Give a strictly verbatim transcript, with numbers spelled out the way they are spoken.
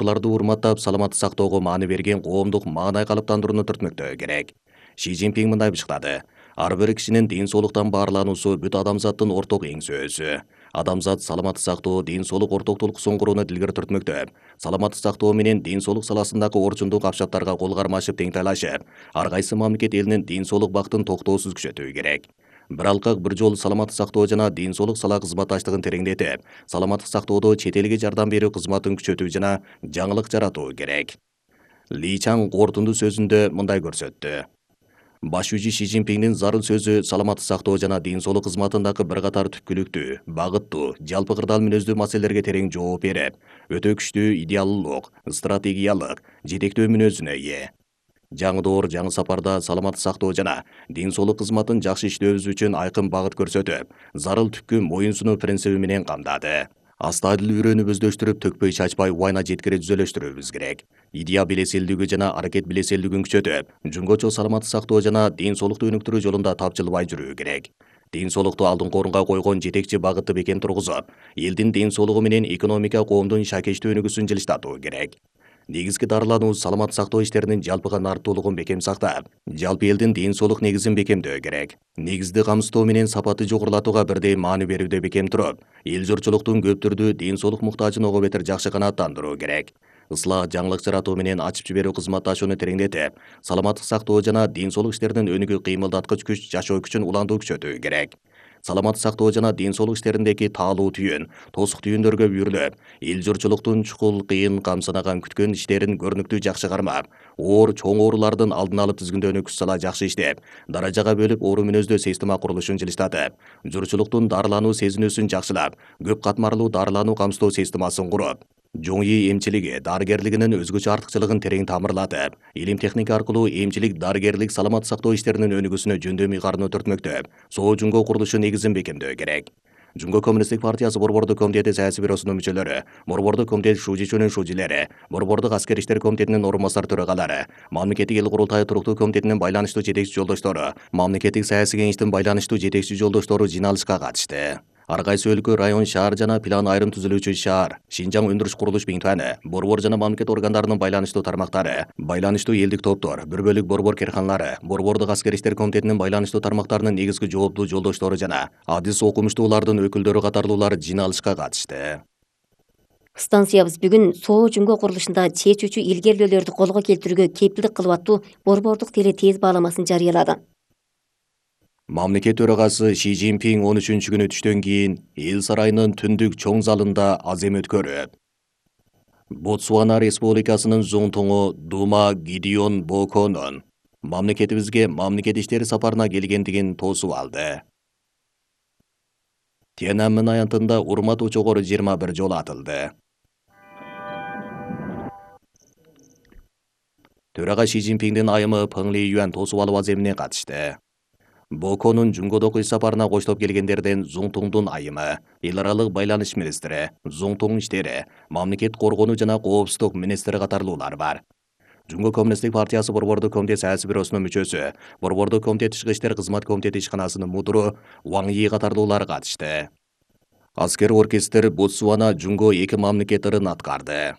Буларды урматтап, саламатты сактоого маани берген коомдук маанай калыптандырууну түртмөктөө керек. Ши Цзиньпин мындай бышкылады. Ар бир кишинин ден соолуктан баарлануусу бүт адамзаттын орток эңсөөсү. Адамзат саламатты сактоо, ден соолук ортоктулук соңгурууну дилгер түртмөктө. Саламатты сактоо менен ден соолук саласындагы орчундук капчаттарга кол кармашып теңтайлашып, ар кайсы мамлекет элинин ден соолук бактын токтоосуз күчөтүү керек. Бир алкак бир жол саламаттык сактоо жана ден соолук сала кызматташтыгын тереңдетип, саламаттык сактоодо чет элге жардам берүү кызматын күчөтүү жана жаңылык жаратуу керек. Ли Чаң кортунду сөзүндө мындай көрсөттү. Баш жүзү Ши Цзиньпиндин зарыл сөзү саламаттык сактоо жана ден соолук кызматындагы бир катар түпкүлүктүү, багыттуу, жалпы кырдаал мүнөздүү маселелерге терең жооп берип, өтө күчтүү идеалдуулук, стратегиялык, жетектөө мүнөзүнө ээ. Жаңы доор, жаңы сапарда саламаттык сактоо жана ден соолук кызматын жакшы иштөөбүз үчүн айкын багыт көрсөтүп, зарыл түпкү моюн сунуу принциби менен камдады. Астайдыл үрөөнү бөздөштүрүп, төкпөй чачпай убайна жеткире түзөлөштүрүүбүз керек. Идея белеселдиги жана аракет белеселдигин күчөтүп, жөнгөчө саламаттык сактоо жана ден соолукту өнүктүрүү жолунда тапжылбай жүрүү керек. Ден соолукту алдыңкы орунга койгон жетекчи багытты бекем тургузуп, элдин ден соолугу менен экономика коомдун шакечтүү өнүгүүсүн жылыштатуу керек. Негизги дарылануу саламаттык сактоо иштеринин жалпыга нартуулугун бекем сактап, жалпы элдин ден соолук негизин бекемдөө керек. Негизди камсыздоо менен сапатты жогорулатууга бирдей маани берүүдө бекем туруп, эл журтчулуктун көп түрдүү ден соолук муктажын ого бетер жакшы канааттандыруу керек. Ислах, жаңылык жаратуу менен ачып жиберүү кызматташууну тереңдетип, саламаттык сактоо жана ден соолук иштеринин өнүгүү кыймылдаткыч күч, жашоо күчүн улантуу күчөтүү керек. Саламаттык сактоо жана ден соолук иштериндеги таалуу түйүн, тосук түйүндөргө үйрүлүп, эл журтчулуктун чукул, кыйын, камсынаган күткөн иштерин көрүнүктүү жакшы кармап, оор, чоң оорулардын алдын алып тизгиндөөнү күч сала жакшы иштеп, даражага бөлүп оору мүнөздүү система курулушун жылыштатып, журтчулуктун дарылануу сезинүүсүн жакшылап, көп катмарлуу дарылануу камсыздоо системасын куруп, жоңи эмчилиги, дарыгерлигинин өзгөчө артыкчылыгын терең тамырлатып, илим техника аркылуу эмчилик, дарыгерлик, саламаттык сактоо иштеринин өнүгүүсүнө жөндөм ыйгарууну түртмөктөп, соо жумго курулушу негизин бекемдөө керек. Жумго коммунисттик партиясы Борбордук комитети саясий бюросунун мүчөлөрү, Борбордук комитет шужичүүнүн шужилери, Борбордук аскер иштер комитетинин орун басар төрагалары, Мамлекеттик эл курултайы туруктуу комитетинин байланыштуу жетекчи жолдоштору, Мамлекеттик саясий кеңештин байланыштуу жетекчи жолдоштору жыйналышка катышты. Ар кайсы өлкө, район, шаар жана план айрым түзүлүүчү шаар, Шинжаң өндүрүш курулуш бейнтуаны, борбор жана мамлекет органдарынын байланыштуу тармактары, байланыштуу элдик топтор, бир бөлүк борбор керканалары, Борбордук аскер иштер комитетинин байланыштуу тармактарынын негизги жооптуу жолдоштору жана адис окумуштуулардын өкүлдөрү катарлуулар жыйналышка катышты. Станциябыз бүгүн соо жумго курулушунда чечүүчү илгерилөөлөрдү колго келтирүүгө кепилдик кылып аттуу борбордук теле тез бааламасын жарыялады. Мамлекет төрагасы Ши Цзиньпин он үчүнчү күнү түштөн кийин эл сарайынын түндүк чоң залында азем өткөрүп, Ботсвана Республикасынын зуңтуңу Дума Гидеон Боконун мамлекетибизге мамлекет иштери сапарына келгендигин тоосуп алды. Тяньаньмэн аянтында урмат учогору жыйырма бир жолу атылды. Төрага Ши Цзиньпиндин айымы Пeng Лиюань тоосуп алуу аземине катышты. Боконун жумgodогу иш сапарына коштоп келгендерден Зуңтуңдун айымы, эл аралык байланыш министри, Зуңтуң иштери, мамлекет коргонуу жана коопсуздук министри катарлуулар бар. Жумго коммунисттик партиясы Борбордук комитет саясий бюросунун мүчөсү, Борбордук комитет тышкы иштер кызмат комитети ишканасынын мудуру Ваң Йи катарлуулар катышты. Аскер оркестр Ботсвана жумго эки мамлекет ырын аткарды.